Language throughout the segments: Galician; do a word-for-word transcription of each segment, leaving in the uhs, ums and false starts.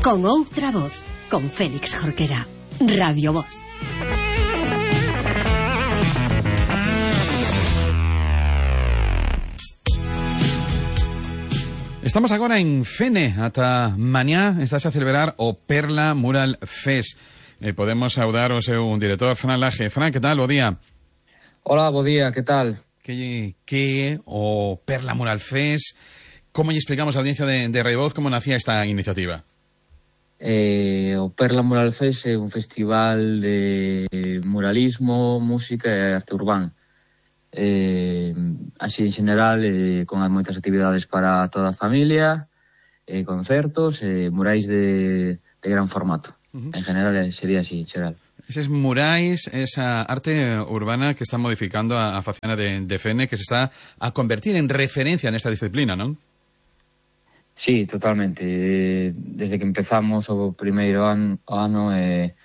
Con outra voz, con Félix Jorquera. Radio Voz. Estamos agora en Fene, ata mañá estás a celebrar o Perla Mural Fest. Eh, podemos saudar o seu director, Fran Laje. Fran, que tal? Bo día. Hola, bo día, que tal? Que, que é o Perla Mural Fest? Como lle explicamos a audiencia de, de Radio Voz como nacía esta iniciativa? Eh, o Perla Mural Fest é un festival de muralismo, música e arte urbana. Eh, así en general, eh, con moitas actividades para toda a familia, eh, concertos, eh, murais de, de gran formato. Uh-huh. En general sería así, en general. Eses murais, esa arte urbana que está modificando a, a facena de, de Fene, que se está a convertir en referencia nesta disciplina, non? Sí, totalmente. Desde que empezamos o primeiro an, ano eh,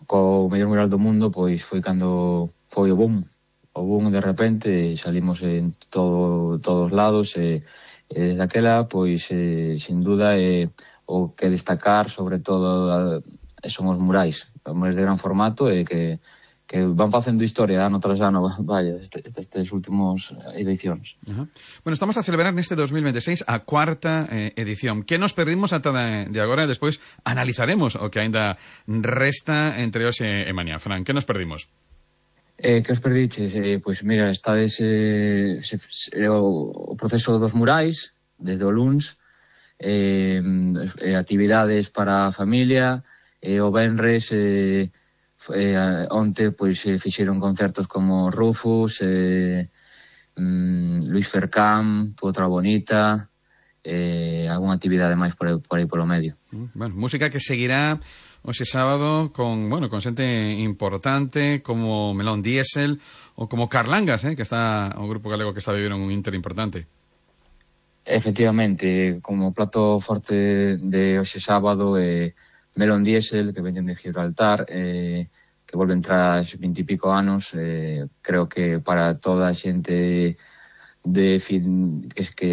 co mellor mural do mundo, pois foi cando foi o boom. O boom de repente, salimos en todo, todos lados e, e desde aquela, pois, eh, sin duda, eh, o que destacar, sobre todo, eh, son os murais. Os murais de gran formato e que, que van facendo historia ano tras ano, vaya, estes, estes últimos edicións. Uh-huh. Bueno, estamos a celebrar neste dos mil veintiséis a cuarta eh, edición. Que nos perdimos ata de, de agora e despois analizaremos o que aínda resta entre hoxe e mañá. Fran, que nos perdimos? Eh, que os perdiches? Eh, pois mira, estades eh, se, se, o, o proceso dos murais desde o luns, eh, eh, actividades para a familia, eh, o venres eh, eh, onte pois eh, fixeron concertos como Rufus, eh, mm, Luis Fercán, Outra Bonita, eh, algunha actividade máis por aí, por aí polo medio. Bueno, música que seguirá hoxe sábado con, bueno, con xente importante como Melón Diesel ou como Carlangas, eh, que está o grupo galego que está vivendo un Inter importante. Efectivamente, como plato forte de hoxe sábado eh, Melón Diesel, que veñen de Gibraltar, eh, que volven tras vinte e pico anos. Eh, creo que para toda a xente de fin, que, que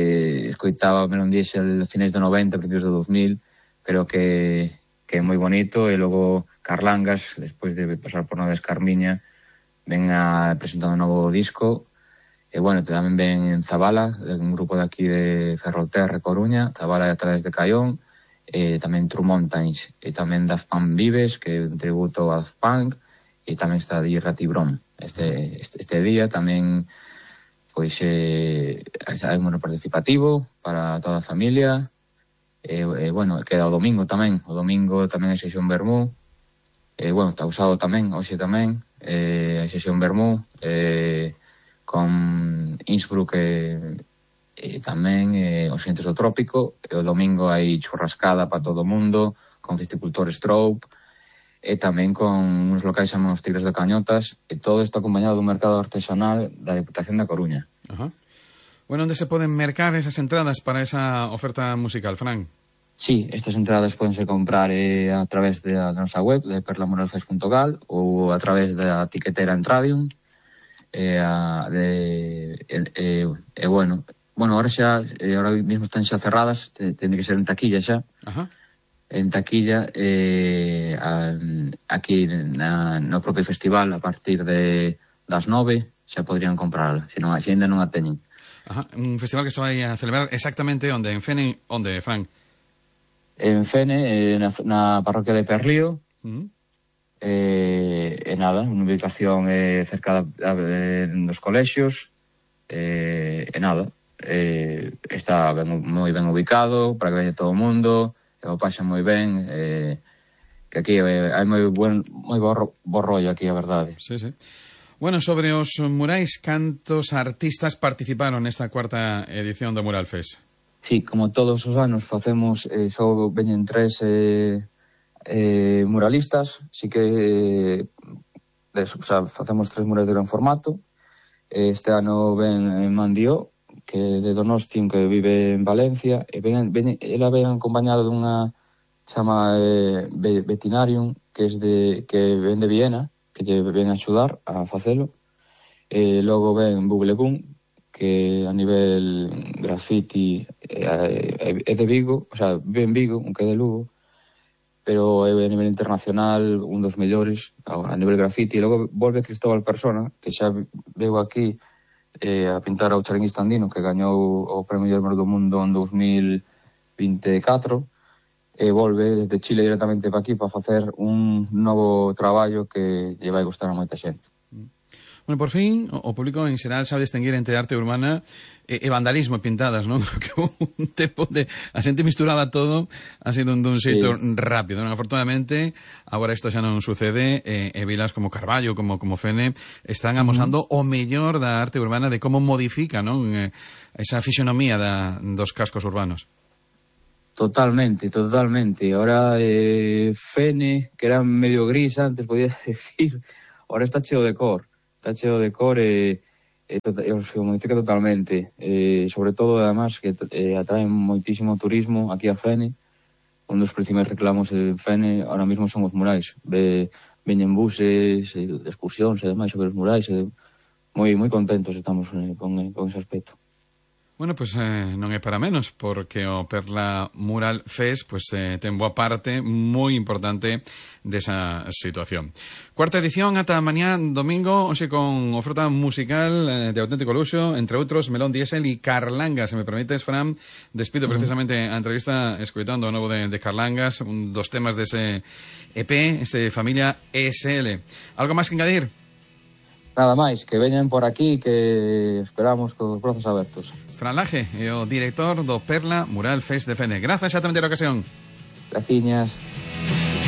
escoitaba Melón Diesel finais do noventa, principios do dos mil, creo que que é moi bonito. E logo Carlangas, despois de pasar por Noves Carmiña, ven a presentar un novo disco. E bueno, tamén ven en Zabala, un grupo de aquí de Ferrolterra, Coruña, Zabala a través de Caión, e tamén True Mountains, e tamén Daft Punk Vives, que é un tributo a Daft Punk, e tamén está Di Ratibron. Este, este, este día tamén pois eh, hai un participativo para toda a familia. E, e bueno, queda o domingo tamén. O domingo tamén hai sesión Vermú. E bueno, está usado tamén, hoxe tamén. E, hai sesión Vermú e, con Innsbruck e, e tamén e, os xentes do Trópico. E o domingo hai churrascada para todo o mundo, con Festicultor Strobe, e tamén con uns locais chamados Tigres de Cañotas. E todo isto acompañado dun mercado artesanal da Deputación da Coruña. Ajá. Bueno, onde se poden mercar esas entradas para esa oferta musical, Fran? Sí, estas entradas podense comprar eh, a través da nosa web, de perla mural fest punto gal, ou a través da tiquetera Entradium. E, a, de, e, e, e bueno, bueno, ahora xa, eh, ahora mismo están xa cerradas, ten que ser en taquilla xa. Ajá. En taquilla, eh, a, aquí na, no propio festival, a partir de das nove, xa podrían comprarla, se non, se ainda non a teñen. Ajá. Un festival que se vai a celebrar exactamente onde? En Fene, onde, Fran? En Fene, eh, na, na parroquia de Perlío. Uh-huh. eh, e nada, unha ubicación eh, cerca de, de, dos colexios. Eh, e nada, eh, está ben, moi ben ubicado para que veña todo o mundo, e o paxa moi ben. Eh, que aquí eh, hai moi buen, moi bo, bo rollo aquí, a verdade. Sí, sí. Bueno, sobre os murais, cantos artistas participaron nesta cuarta edición do Mural Fest? Sí, como todos os anos facemos, eh, só veñen tres eh, eh, muralistas, sí que eh, des, o sea, facemos tres murais de gran formato. Este ano ven Mandió, que é de Donostin, que vive en Valencia, e ven, ven, ela ven acompañada dunha chama eh, Vetinarium, que, es de, que ven de Viena, que lle ven a axudar a facelo. E logo ven Bublegún, que a nivel graffiti é, é de Vigo, o sea, vive en Vigo, aunque é de Lugo, pero é a nivel internacional un dos mellores a nivel graffiti. E logo volve Cristóbal Persona, que xa veu aquí eh, a pintar ao Charinguista Andino, que gañou o Premio Guillermo do Mundo en dos mil vinte e catro, e volve desde Chile directamente para aquí para facer un novo traballo que lle vai gustar a moita xente. Bueno, por fin, o público en xeral sabe distinguir entre arte urbana e, e vandalismo e pintadas, non? Creo que un tempo de a xente misturaba todo así dun, dun Sí. xeito rápido, non? Afortunadamente, agora isto xa non sucede e, e vilas como Carballo, como como Fene, están amosando uh-huh. o mellor da arte urbana de como modifica, non? Eh, esa fisionomía da, dos cascos urbanos. Totalmente, totalmente. Ahora eh, Fene, que era medio gris antes, podía decir, ahora está cheo de cor. Está cheo de cor e, e, tota, e se modifica totalmente. E, sobre todo, además, que eh, atrae moitísimo turismo aquí a Fene. Un dos principais reclamos en Fene ahora mismo son os murais. Ve, veñen buses, e, excursións e demais sobre os murais. E, moi moi contentos estamos eh, con, eh, con ese aspecto. Bueno, pois pues, eh, non é para menos, porque o Perla Mural Fest pues, eh, ten boa parte moi importante desa situación. Cuarta edición ata mañá domingo, hoxe con oferta musical eh, de auténtico luxo, entre outros Melón Diesel e Carlangas. Se me permites, Fran, despido precisamente a entrevista escoitando o novo de, de Carlangas, un dos temas dese E P, este Familia E S L. Algo máis que engadir? Nada máis, que veñan por aquí, que esperamos cos brazos abertos. Fran Laje, é o director do Perla Mural Fest de Fene. Grazas xa tamén ter a ocasión. Graciñas.